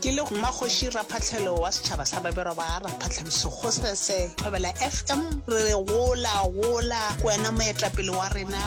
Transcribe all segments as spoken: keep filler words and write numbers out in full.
Ke le Mmakgoši Raphahlelo wa setšhaba sa Babelwa ba Raphahlelo Sekgosese, Thobela F M, re re gola gola, ke wena moetapele wa rena.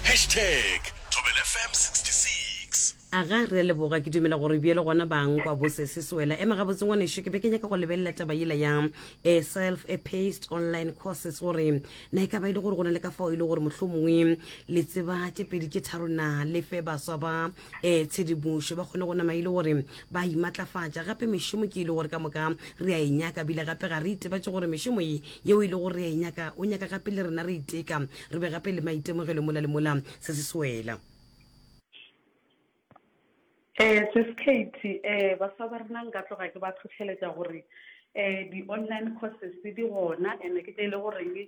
Hashtag Thobela F M sixty-six. Aga, re a leboga. Ke dumela gore bjale gona ba nkwa bose se swela. Ema gabotse ngwanešu, ke be ke nyaka go lebelela taba yela ya eh, self paced online courses, gore na e ka ba e le gore go na le ka fao e le gore mohlomongwe le tseba tše pedi tše tharo na le fe baswa ba um tshedimošo ba kgone go nama e le gore ba imatlafatša. Gape mešomo ke e le gore ka moka re a e nyaka, bile gape ga re itebatše gore mešomo ye yeo e le gore re a e nyaka o nyaka gape le rena re iteka re be gape le maitemogelo mola le mola se se swela. Eh Sis Katie, eh baswa ba rena nka tloga ke ba tlhotlheletša gore eh di-online courses di gona, and ke tše e le goreng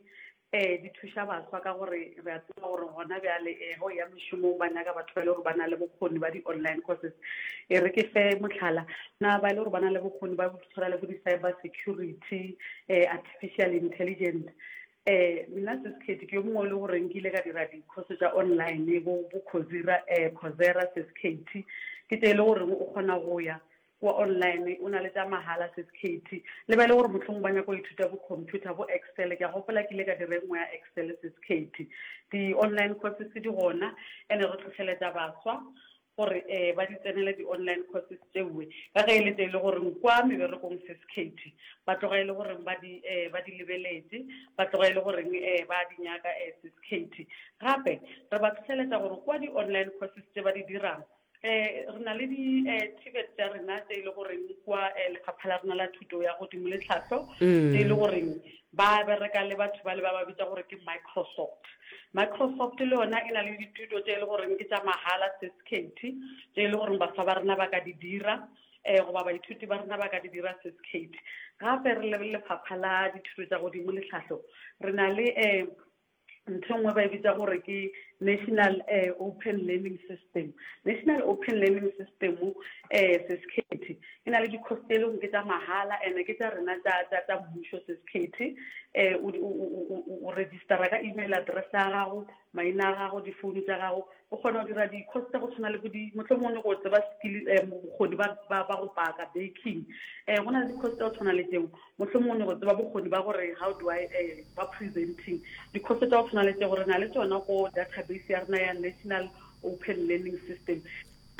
eh di thuša baswa, ka gore re a tseba gore gona bjale eh go ya mešomong ba nyaka batho ba e le gore ba na le bokgoni ba di-online courses. E re ke fe motlhala, na ba e le gore ba na le bokgoni ba go tshwana le bo di-cyber security, eh artificial intelligence. eh nna Sis Katie ke yo mongwe o le goreng ke ile ka dira di-course tša online bo bo Coursera, eh Coursera Sis Katie, ke tše e le goreng o kgona go ya kwa online, o na le tša mahala Sis Katie. Le ba e le gore mohlomong ba nyaka go ithuta bo computer, bo Excel, ke a gopola ke ile ka dira e nngwe ya Excel Sis Katie. Di-online courses di gona, and re tlhotlheletša baswa gore um ba di tsenele di-online courses tšeoe, ka ge e le tse e le goreng kwa meberekong Sis Katie ba tloga e le goreng ba di um ba di lebeletše, ba tloga e le goreng um ba di nyaka um Sis Katie. Gape re ba tlhotlheletša gore kwa di-online courses tše ba di dirang, eh re na le di-TVET tša rena tse e le goreng kwa eh, lefapha la rena la thuto ya godimo le tlhahlo, tse e le goreng ba bereka le batho ba le ba ba bitsa gore ke Microsoft. Microsoft le yona e na le dithuto tse e le goreng ke tša mahala Sis Katie, tse e le goreng baswa ba rena ba ka di dira, um goba baithuti ba rena ba ka di dira Sis Katie. Gape re le lefapha la dithuto tša godimo le tlhahlo, re na le um ntho e nngwe ba e bitsa gore ke National eh, Open Learning System. National Open Learning System eh Sis Katie e na le di-course tse e leng ke tša mahala, and ke tša rena tša mmušo Sis Katie. eh o registera ka email address ya gago, maina a gago, difounu tša gago, o kgona go dira di-course tsa go tshwana le bo di mohlomongwe o nyaka go tseba skill, um bokgoni ba go paka, baking, um go na le di-course tsa go tshwana le tseo. Mohlomongwe o nyaka go tseba bokgoni ba gore how do I um ba presenting, di-course tsa go tshwana le tseo re na le tsona ko database ya rena ya National Open Learning System.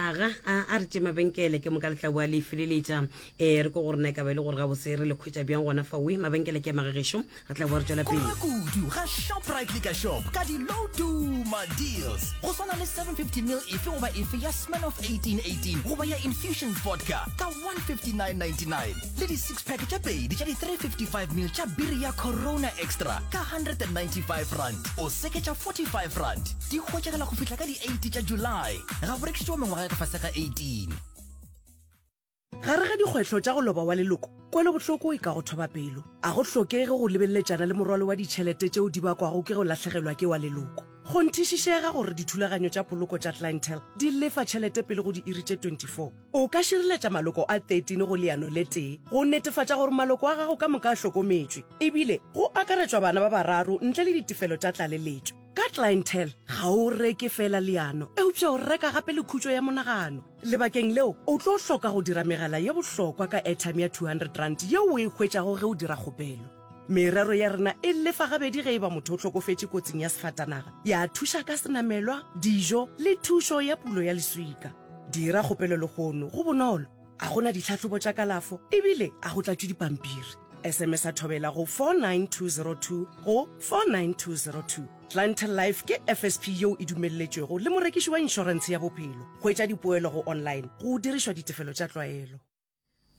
Aga, a a re tše mabenkele ke moka letla boa le feleletša um re ko gore na e ka ba e le gore gabotse re le khwetša bjang gona fawe. Mabenkele ke a magagešo, re tla boa re tšwela pele. Kora kudu ga Shoprite Liquor Shop ka di-low duma deals, go swana le seven fifty mil efe goba efe ya Smirnoff eighteen eighteen goba ya Infusions vodka ka one fifty-nine ninety-nine, le di-six pack tša pedi tša di three fifty-five mil tša biri ya Corona Extra ka one ninety-five rand, o seketša forty-five rand. Di hwetšagala go fihla ka di eight tša July. Ga bo rekišetšwa mengwaga ya ka fase ga eighteen. Gare ga dikgwetlho tša go loba wa leloko, kwelobohloko e ka go thoba pelo. A go hlokege go lebeleletšana le morwalo wa ditšhelete tšeo di bakwago ke go lahlegelwa ke wa leloko. Kgonthišišega gore dithulaganyo tša poloko tša Clientele di lefa tšhelete pele go diiri tše twenty-four. O ka šireletša maloko a thirteen go leano le tee go netefatša gore maloko a gago ka moka a hlokometšwe, ebile go akaretšwa bana ba bararo ntle le ditefelo tša tlaleletšo. Ka Clientele ga o reke fela leano, eupša o reka gape le khutšo ya monagano. Lebakeng leo o tlo hloka go dira megala ye bohlokwa ka airtime ya two hundred rand yeo o e hwetšago ge o dira kgopelo. Merero ya rena e lefa gabedi ge e ba motho o hlokofetše kotsing ya sefatanaga, ya thuša ka senamelwa, dijo le thušo ya pulo ya leswika. Dira kgopelo lehono, go bonolo, a gona ditlhahlobo tša kalafo, ebile a go tlatšwe dipampiri. S M S a thobela go four nine two zero two go four nine two zero two. Clientele Life ke F S P yeo e dumelletšwego le morekiši wa inšorentshe ya bophelo. Hwetša dipoelo go online go dirišwa ditefelo tša tlwaelo.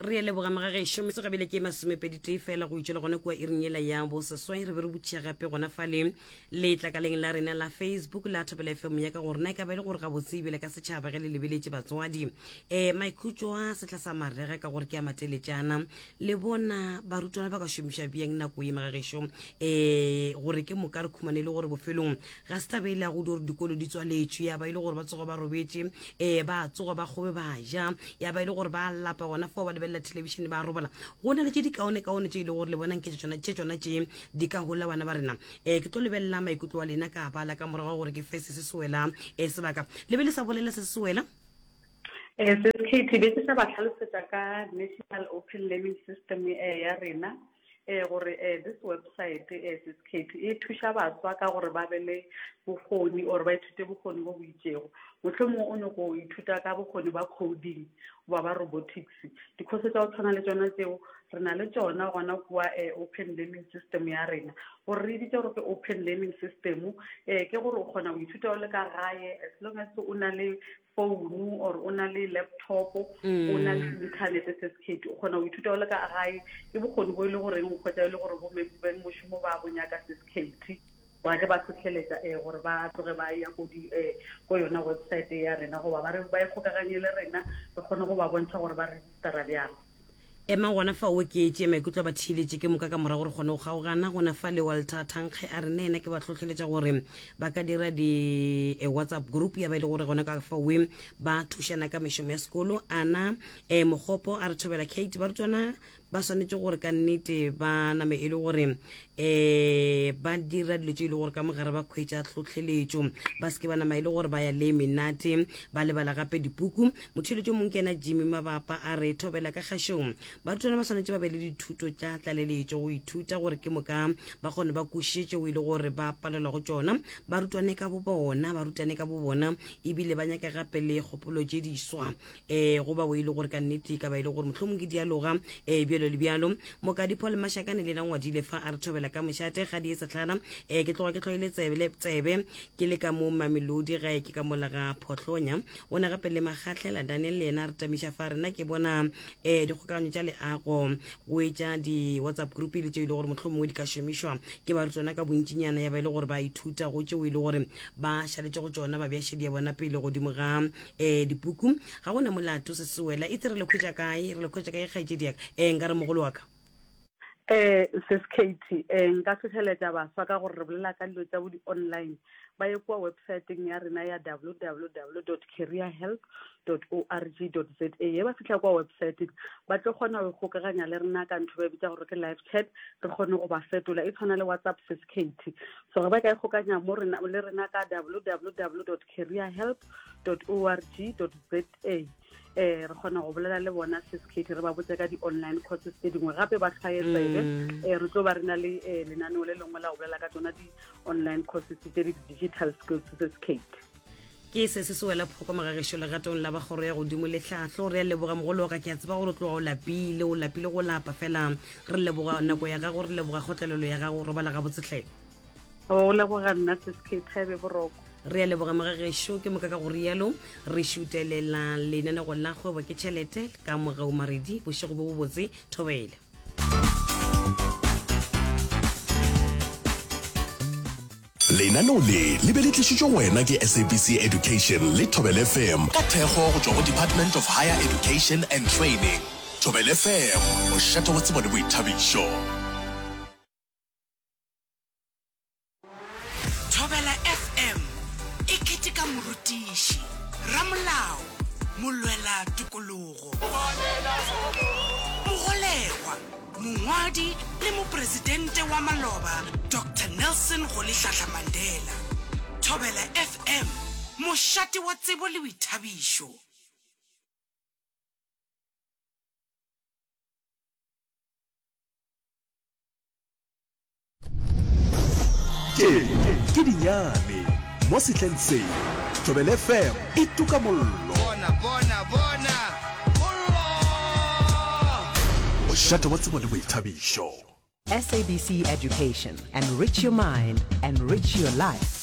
Re a leboga magagešo. Metso gabele ke masomepedi tee fela go itšwela gona kua iring yela ya boseswai. Re be re botšiša gape gona fale letlakaleng la rena la Facebook la Thobela F M ya ka gore na e ka ba e le gore gabotse ebile ka setšhaba ge le lebeletše batswadi um maikhutšo a sehla sa marega, ka gore ke a mateletšana, le bona barutwana ba ka šomiša bjang nako ye magagešo, um gore ke moka re khumane e le gore bofelong ga se tabe e le ya go di gore dikolo di tswaletšwe, ya ba e le gore ba tsoga ba robetše, um ba tsoga ba kgobe ba ja, ya ba e le gore ba lapa gona fao ba lebelela thelebišene ba robala. Go na le tše dikaone-kaone tše e le gore le bonang ke tše tšona tše tšona tše di ka hola bana ba rena. um ke tlo lebelela maikutlo a lena ka bala ka morago gore ke fe se se sewela um sebaka le be le sa bolela se se sewela. Eh, Sis Katie, be ke sa ba hlalosetša ka National Open Learning System eh, ya rena eh, gore eh, this website eh, Sis Katie e thuša baswa ka gore ba be le bokgoni or ba ithute bokgoni bo bo itšego. Mohlomongwe o nyako ithuta ka bokgoni ba coding goba ba robotics. Dikhoso tša go tshwana le tšona tšeo re na le tšona gona kua eh, Open Learning System ya rena. Gore re e bitša gore ke Open Learning System eh, ke gore o kgona go ithuta o le ka gae as long as o na le founu or o na le laptop o na le internet Sis Katie o kgona go ithuta o le ka gae ke bokgoni bo e le goreng o hwetša e le gore bo bengmošomo ba bo nyaka Sis Katie wa ke ba hlohleletša um gore ba tloge ba ya ko di um ko yona website ya rena goba ba re ba ikgokaganye le rena re kgone go ba bontšha gore ba registera bjang Ema gona fa o oketše maikutlo a batheeletši ke moka ka morago re kgone go kgaogana. Gona fa le Walter Thankge a re ne yena ke ba hlohleletša gore ba ka dira di eh, WhatsApp group ya ba e le gore gona ka faoe ba thušana ka mešomo ya sekolo. Ana eh, Mokgopo a re thobela Kate barutwana ba swanetše gore ka nnete ba name e le gore um ba dira dilo tše e le gore ka mogare ba khwetša tlhohleletšo ba seke ba nama e le gore ba ya le menate ba lebala gape dipuku motheeletši o mongwe ke yena Jimmy Mabapa a re thobela ka kgašong barutwana ba swanetše ba be le dithuto tša tlaleletšo go ithuta gore ke moka ba kgone ba kwešiše tšeo e le gore ba palelwa go tšona ba rutwane ka bo bona ba rutane ka bo bona ebile ba nyaka gape le kgopolo tše diswa um go bao e le gore ka nnete e ka ba e le gore mohlomong ke dialoga um bjalo le bjalo Mokadi Paul Mashakane le yena ngwadile fa a re thobela ka mošate ga di e sehlana um ke tloga ke hloile tsebe tsebe ke le ka mo Mamelodi gae ke ka mola ga Phohlonya o ne gape le Magahlela Daniel le yena a re tamiša fa rena ke bona um dikgokaganyo tša leago go etša di-whatsapp group le tšeo e le gore mohlomongwe di ka šomišwa ke barutwana ka bontšinyana ya ba e le gore ba ithuta go tšeo e le gore ba šaletše go tšona ba bea šedi ya bona pele godimo ga um dipuku ga go na molato se se wela itse re le khwetša kae re le khwetša kae kgaetšedi yaka um nka re mogolo wa ka Eh Sis Katie, eh nka hlohleletša baswa ka gore re bolela ka dilo tša bo di-online ba ye kua websiteng ya rena ya www dot careerhelp dot org dot za ge ba fihla kua websiteng ba tlo kgona go ikgokaganya le rena ka ntho ba e bitsa gore ke live chat re kgone go ba fetola e tshwana le WhatsApp Sis Katie so ge ba ka ikgokanya mo rena le rena ka www dot careerhelp dot org dot za eh re kgona go bolela le bona Sis Katie re ba botse ka di-online courses tse dingwe gape ba tlhwaye tsebe mm. eh re tlo ba re na le eh, lenaneo le lengwe la go bolela ka tsona di-online courses tse di-digital skills Sis Katie ke se se se wela phoko mogagešo legatong la bakgoro ya godimo le tlhahlo re a leboga mogolo wa ka ke a tseba gore o tloga o lapile o lapile go lapa fela re leboga nako ya gago re leboga kgotlelelo ya gago robala gabotse tlhe o leboga nna Sis Katie a be boroko re a leboga mogagešo ke moka ka go rialo re šutelela lenanego la kgwebo ke tšhelete ka mogau maredi bošego bo bobotse thobela Lenaneo le le be le tlišitšwe go wena ke SABC Education le Thobela FM ka thekgo go tšwa go Department of Higher Education and Training. Thobela FM, mošate wa tsebo le boithabišo. Thobela FM e keteka morutiši, ramolao, molwela tokologo, mogolegwa, mongwadi le mopresidente wa maloba Doctor Nelson Rolihlahla Mandela. Thobela FM, mošate wa tsebo le boithabišo. Tše ke dinyane mo sehleng se. Thobela FM e tuka mollo. Bona, bona, bona, mollo! Mošate wa tsebo le boithabišo. SABC Education, enrich your mind, enrich your life.